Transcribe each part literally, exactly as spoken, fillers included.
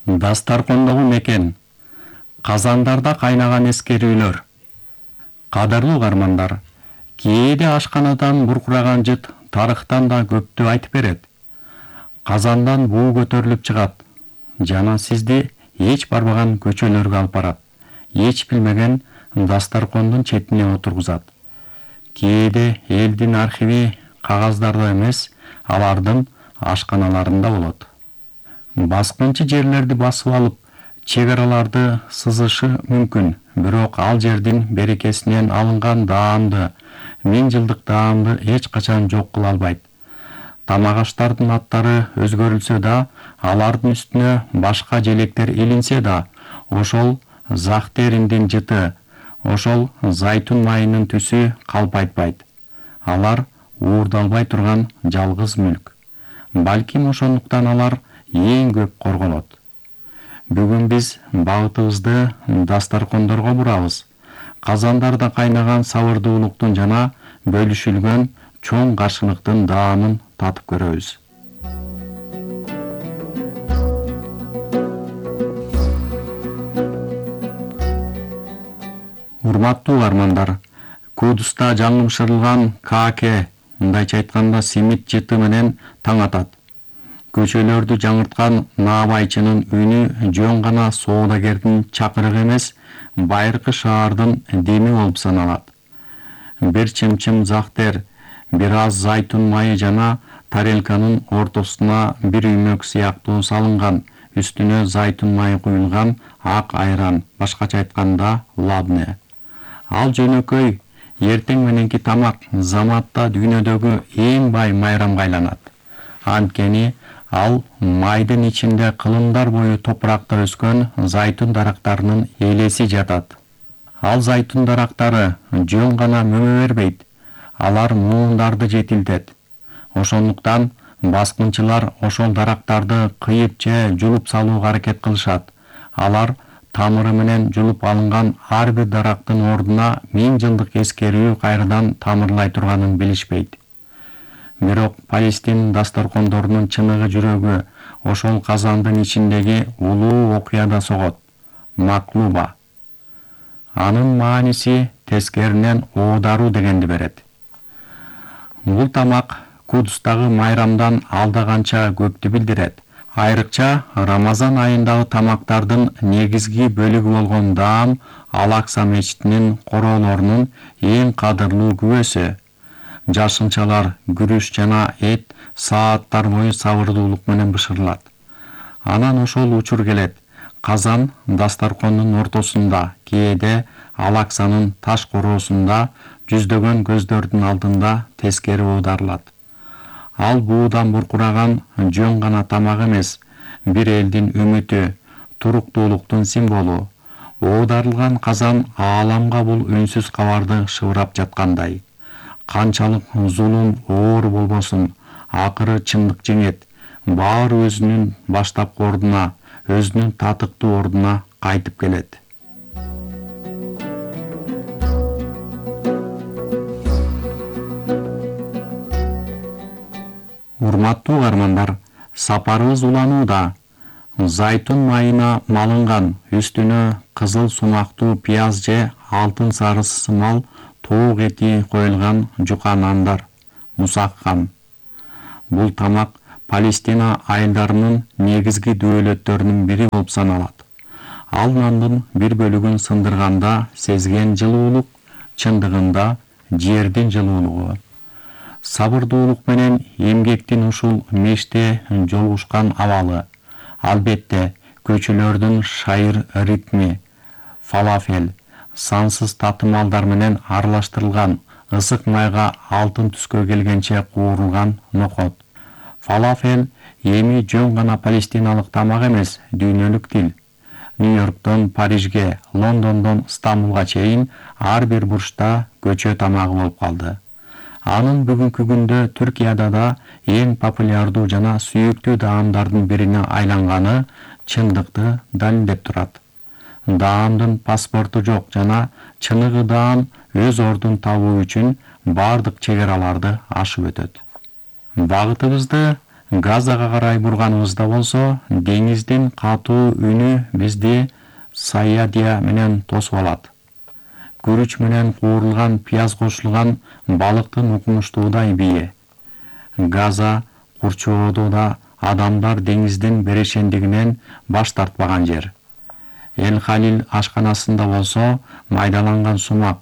Дастаркондогу мекен. Казандарда кайнаган эскерүүлөр. Кадырлуу угармандар, кээде ашканадан буркураган жыт тарыхтан да көптү айтып берет. Казандан буу көтөрүлүп чыгат жана сизди эч барбаган көчөлөргө алып барат. Эч билмеген дастаркондун четине отургузат. Кээде элдин архиви кагаздарда эмес, алардын ашканаларында болот. Баскынчы жерлерди басып алып, чек араларды сызышы мүмкүн, бирок ал жердин берекесинен алынган даамды, миң жылдык даамды эч качан жок кыла албайт. Тамак аштардын аттары өзгөрүлсө да, алардын үстүнө башка желектер илинсе да, ошол захтериндин жыты, ошол зайтун майынын түсү калпайтпайт. Алар уурдалбай турган жалгыз мүлк. Балким ошондуктан алар эң көп корголот. Бүгүн биз багытыбызды дастаркондорго бурабыз. Казандарда кайнаган сабырдуулуктун жана бөлүшүлгөн чоң каршылыктын даамын татып көрөбүз. Урматтуу угармандар, Кудуста жаңымшырылган кааке, мындайча айтканда симит жыты менен таң атат. Көчөлөрдү жаңырткан наабайчынын үнү жөн гана соодагердин чакырыгы эмес, байыркы шаардын деми болуп саналат. Бир чымчым захтер, бир аз зайтун майы жана тарелканын ортосуна бир үймөк сыяктуу салынган, үстүнө зайтун майы куюлган ак айран, башкача айтканда лабне. Ал жөнөкөй эртең мененки тамак заматта дүйнөдөгү эң бай майрамга айланат. Анткени ал майдын ичинде кылымдар бою топуракта өскөн зайтун дарактарынын элеси жатат. Ал зайтун дарактары жөн гана мөмө бербейт, алар муундарды жетилтет. Ошондуктан баскынчылар ошол дарактарды кыйып же жулуп салууга аракет кылышат. Алар тамыры менен жулуп алынган ар бир дарактын ордуна миң жылдык эскерүү кайрадан тамырлай турганын билишпейт. Бирок Палестина дастаркондорунун чыныгы жүрөгү ошол казандын ичиндеги улуу окуяда согот. Маклуба. Анын мааниси тескеринен оодаруу дегенди берет. Бул тамак Кудустагы майрамдан алда канча көптү билдирет. Айрыкча Рамазан айындагы тамактардын негизги бөлүгү болгон даам Ал-Акса мечитинин короолорунун эң кадырлуу күбөсү. Жашынчалар, күрүч жана эт сааттар бою сабырдуулук менен бышырылат. Анан ошол учур келет. Казан дастаркондун ортосунда, кээде Ал-Аксанын таш короосунда жүздөгөн көздөрдүн алдында тескери оодарылат. Ал буудан буркураган жөн гана тамак эмес, бир элдин үмүтү, туруктуулуктун символу. Оодарылган казан ааламга бул үнсүз кабарды шыбырап жаткандай. Канчалык зулум оор болбосун, акыры чындык жеңет. Баары өзүнүн баштапкы ордуна, өзүнүн татыктуу ордуна кайтып келет. Урматтуу угармандар, сапарыбыз уланууда. Зайтун майына малынган, үстүнө кызыл сунактуу пияз же алтын сарысы сымал тоок эти коюлган жука нандар, мусакхан. Бул тамак Палестина айылдарынын негизги дөөлөттөрүнүн бири болуп саналат. Ал нандын бир бөлүгүн сындырганда сезген жылуулук, чындыгында жердин жылуулугу. Сабырдуулук менен эмгектин ушул меште жолугушкан абалы. Албетте, көчөлөрдүн шайыр ритми, фалафел, сансыз татымалдар менен аралаштырылган, ысык майга алтын түскө келгенче куурулган нокот. Фалафел эми жөн гана палестиналык тамак эмес, дүйнөлүк тил. Нью-Йорктон Парижге, Лондондон Стамбулга чейин ар бир бурчта көчө тамагы болуп калды. Анын бүгүнкү күндө Түркияда да эң популярдуу жана сүйүктүү даамдардын бирине айланганы чындыкты далилдеп турат. Даамдын паспорту жок жана чыныгы даам өз ордун табуу үчүн бардык чек араларды ашып өтөт. Багытыбызды Газага карай бурганыбызда болсо, деңиздин катуу үнү бизди саядия менен тосуп алат. Күрүч менен куурулган пияз кошулган балыктын укмуштуудай бие. Газа курчоодо да адамдар деңиздин берешендигинен баш тартпаган жер. Эл-Халил ашканасында болсо, майдаланган сумак,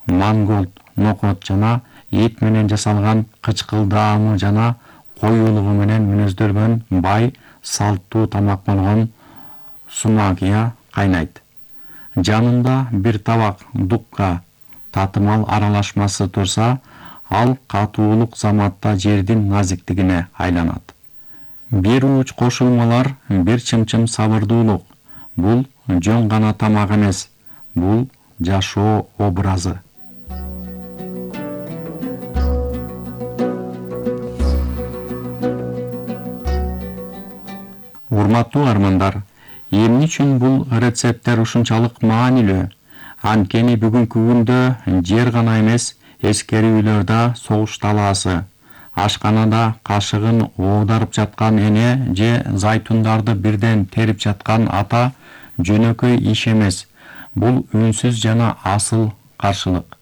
манголд, нокот жана эт менен жасалган кычкылдаамы жана кой улугу менен мүнөздөлгөн бай, салттуу тамак болгон сумагия кайнайт. Жанында бир табак дукка татымал аралашмасы турса, ал катуулук заматта жердин назиктигине айланат. Бир ууч кошулмалар, бир чымчым сабырдуулук. Бул жөн гана тамак эмес, бул жашоо образы. Урматтуу армандар, эмне үчүн бул рецепттер ушунчалык маанилүү? Анткени бүгүнкү күндө жер гана эмес, эскерүүлөр да согуш талаасы. Ашканада кашыгын оодарып жаткан эне же зайтундарды бирден терип жаткан ата жөнөкөй иш эмес. Бул үнсүз жана асыл каршылык.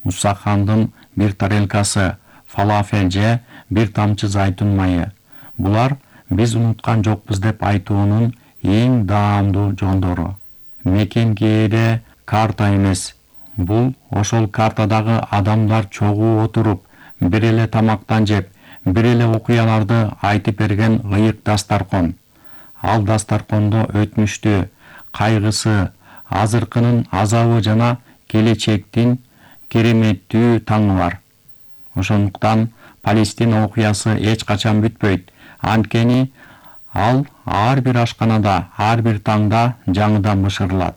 Мусахандын бир тарелкасы фалафел же бир тамчы зайтун майы. Булар биз унуткан жокпуз деп айтуунун эң даамдуу жондору. Мекен кээде карта эмес. Бул ошол картадагы адамдар чогуу отуруп, бир эле тамактан жеп, бир эле окуяларды айтып берген ыйык дастаркон. Ал дастаркондо өтмүштү, кайгысы, азыркынын азабы жана келечектин кереметтүү таңы бар. Ошондуктан Палестина окуясы эч качан бүтпөйт. Анткени ал ар бир ашканада, ар бир таңда жаңыдан бышырылат.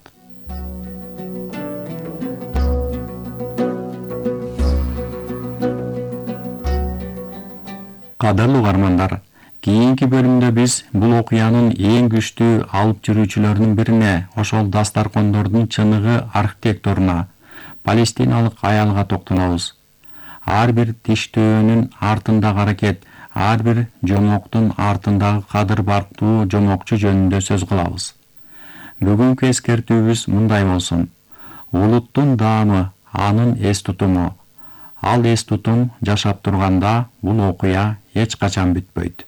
Кадырлуу армандар, кийинки бөлүмдө биз бул окуянын эң күчтүү алып жүрүүчүлөрүнүн бирине, ошол дастаркондордун чыныгы архитекторуна, палестиналык аялга токтолобуз. Ар бир тиштөөнүн артындагы аракет, ар бир жомоктун артындагы кадыр барктуу жомокчу жөнүндө сөз кылабыз. Бүгүнкү эскертүүбүз мындай болсун. Улуттун даамы, анын эс тутуму. Ал эс тутум жашап турганда бул окуя эч качан бүтпөйт.